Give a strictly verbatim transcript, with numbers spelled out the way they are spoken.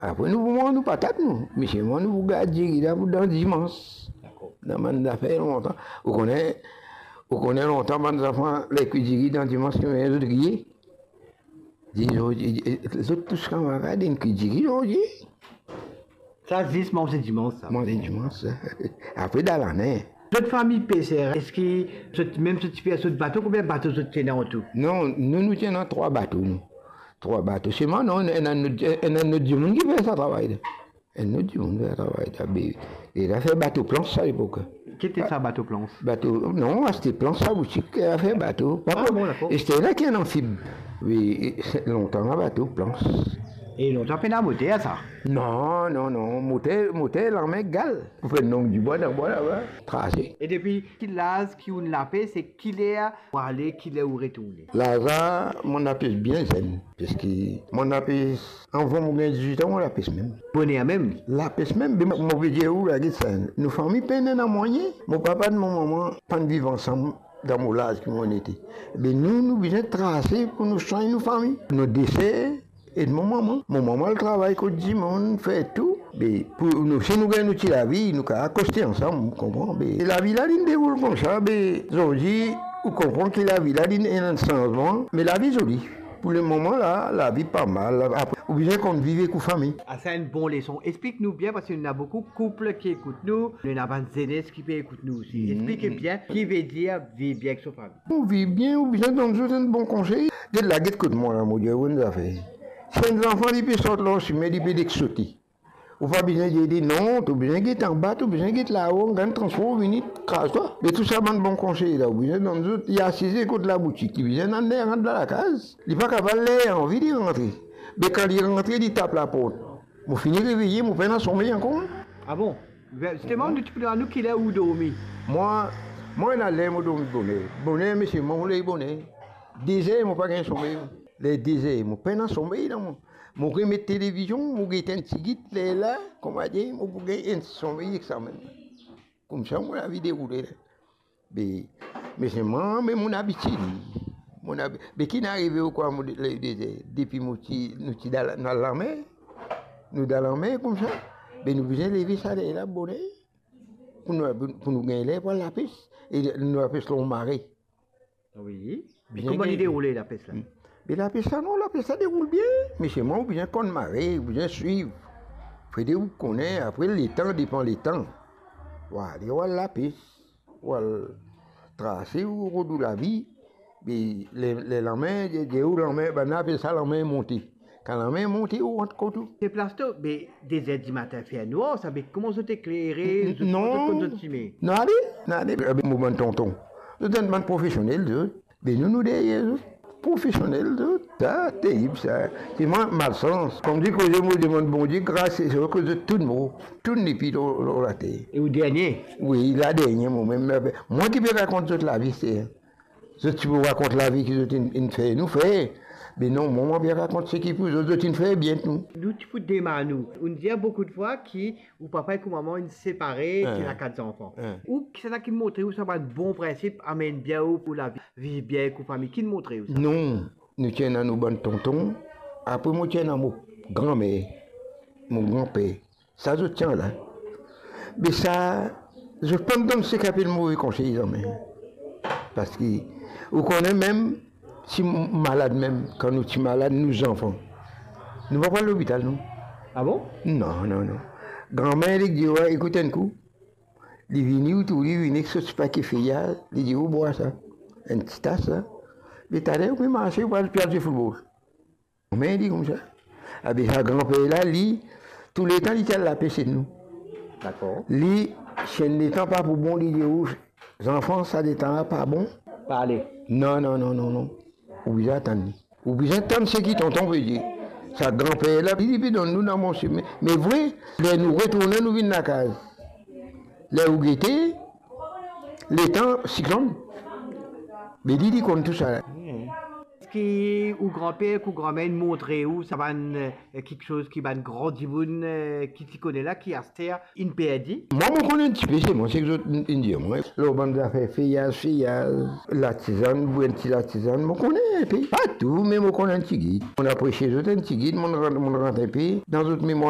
Apre nou pou manz nou patat nou. Me selman nou pou gard diri la pou dan dimans. Dakor. Dan bann zafer lontan. Ou kone, ou kone lontan bann zanfan, ler kwi diri dan dimans, ki zot kriye. Dir zot, zot tous kamarad, inn kwi diri zordi. Sa zis manze dimans, sa. Manze dimans, sa. Apre dan lane. Zot fami peser, eski zot, mem zot ti fer zot bato, konbien bato zot ti ena an tou? Non, nou, nou ti ena trwa bato, nou. Trwa bato. Selman, non, ena, ena, ena lot dimoun ki fer sa travay la. Ena lot dimoun fer sa travay la. Be, e la fer bato plans sa lepok. Ki ti sa, bato plans? Bato, non, aste plans sa boutik, e la fer bato. Ah, bon, dakor. Aster la ki ena anfib. Wi, e, se lontan la bato plans. E lontan pena moter sa? Non, non, non. Moter, moter lanmen gal. Pou fer long dibwa dan bwa laba, trase. E depi ki laz ki ou'nn lapes, e ki ler ou ale, ki ler ou retourne? Laz la, mo'nn lapes bien zenn, parski mo'nn lapes avan mo gagn diz-wit an, mo lapes mem. Boner mem? Lapes mem, be mo, mo pe dir ou la, get sa, nou fami pena mwayin. Mo papa ek mo mama pa'nn viv ansam dan mo laz ki mo'nn ete. Be nou, nou bizin trase pou nou swagn nou fami. Nou de ser, e mo mama. Mo mama al travay kot dimoun, fer tou. Be pou nou, si nou gagn nou ti lavi, nou kapav koste ansam, konpran? Be lavi la, li'nn deroul koumsa, be zordi, ou konpran ki lavi la, li'nn ena enn sanzman, me lavi zoli. Pou lemoman la, lavi pa mal. Apre, ou bizin konn viv ek ou fami. Ah, sa enn bon leson. Explik nou bien, parski nou ena boukou koup ki ekout nou, nou ena bann zenes ki pe ekout nou osi. Mhm. Explik bien ki vedir viv bien ek so fami. Pou viv bien, ou bizin donn zot enn bon konsey. Get la, get kot mwa la, mo dir ou enn zafer. Si enn zanfan li pe sort lor sime, li pe dek sote, ou pa bizin dir li non, to bizin get anba, to bizin get lao, gagn transpor, vini kraz twa. Me tou sa bann bon konsey la, ou bizin donn zot. Li asize kot laboutik, li bizin al ler rant dan lakaz. Li pa kapav ler anvi li rantre. Me kan li rantre, li tap laport. Mo fini reveye, mo pena somey ankor. Ah bon? Zisteman, nou ti pou demann ou ki ler ou dormi. Mwa, mwa ena ler mo dormi boner. Boner, me selman mo leve boner. De zer, mo pa gagn somey. Ler de zer, mo pena somey dan mwa. Mo remet televizion, mo gete enn tigit, lerla, kouma dir, mo pou gagn enn somey ek sa mem. Koumsa mo lavi deroule la. Be, me selman, me mo abitie li. Mo abi-, be ki'nn arive ou krwar mo de-, le-, de-, de-, depi mo ti, nou ti dan la, dan lamer, nou dan lamer koumsa, be nou bizin leve sa lerla boner, pou nou, pou nou gagn ler pou al lapes, e nou lapes lor mare. Wi. Bizin gagn. E kouma li deroule lapes la? Hmm. Be lapes la, non, lapes la deroul bien, me selman ou bizin konn mare, ou bizin swiv. Fode ou konnen, apre letan, depan letan. Ou ale, ou al lapes. Ou al trase, ou rod ou lavi, be le, le lanmer, de, de ou lanmer, bann-la apel sa lanmer monte. Kan lanmer monte, ou rant kot ou. Se plas to, be de zer dimatin fer nwar, sa, be kouma zot eklere, zot, non, zot konn zot sime? Non, ale, non, ale, be mo bann tonton. Zot enn bann profesionel, zot. Be nou, nou deryer zot. Profesionel, zot. Sa, terib, sa. Se mwa, malsans. Kouma dir, koze mo demann Bondie gras, se sa ki zot tou mor. Tou nepli lor, lor later. E ou dernie? Wi, la dernie, mo mem. Mwa ki pe rakont zot lavi, se. Zot ti pou rakont lavi ki zot inn, inn fer, nou fer. Me non, mwa, mwa pe rakont seki pou zot, zot inn fer bien tou. Nou ti pou demann ou. Ou'nn dir boukou de fwa ki ou papa ek ou mama inn separe, ti ena kat zanfan. Ou, kisannla ki montre ou sa bann bon prinsip, amenn bien ou pou lavi, viv bien ek ou fami? Ki'nn montre ou sa? Non, nou ti ena nou bann tonton, apre mo ti ena mo granmer, mo granper. Sa zot ti ena la. Me sa, zot pa'nn donn seki apel move konsey zame. Parski, ou konnen mem, si m-, malad mem, kan nou ti malad, nou zanfan, nou pa pou al lopital, non. Ah bon? Non, non, non. Granmer, li dir, "Wi, ekout enn kou." Li vini, ou trouv li vini ek so ti pake feyaz, li dir, "Ou bwar sa, enn ti tas sa. Me taler, ou pe marse, ou pe al, pe al zwe foutbol." Granmer li koumsa. Abe sa granper la, li, touletan li ti al lapes ek nou. Dakor. Li, si enn letan pa pou bon, li dir ou, "Zanfan, sa letan la pa bon." Pa ale. Non, non, non, non, non. Ou bizin atann li. Ou bizin tann seki tonton pe dir. Sa granper la, li, li pe donn nou dan bon simin. Me vre, ler nou retourne, nou vinn lakaz. Ler ou gete, letan siklonn, be li, li konn tou sa. Hmm. Eski ou granper ek ou granmer inn montre ou sa bann, eh, kiksoz ki bann gran dimoun, eh, ki ti kone la, ki aster inn perdi? Mwa, mo konn enn tipe, se mwa, seki zot inn, inn dir mwa. Lor bann zafer feyaz, feyaz, latizann, bwar enn ti latizann, mo konn enpe. Pa tou, me mo konn enn tigit. Mo'nn apresie zot enn tigit, mo'nn rant, mo'nn rant enpe dan zot memwar.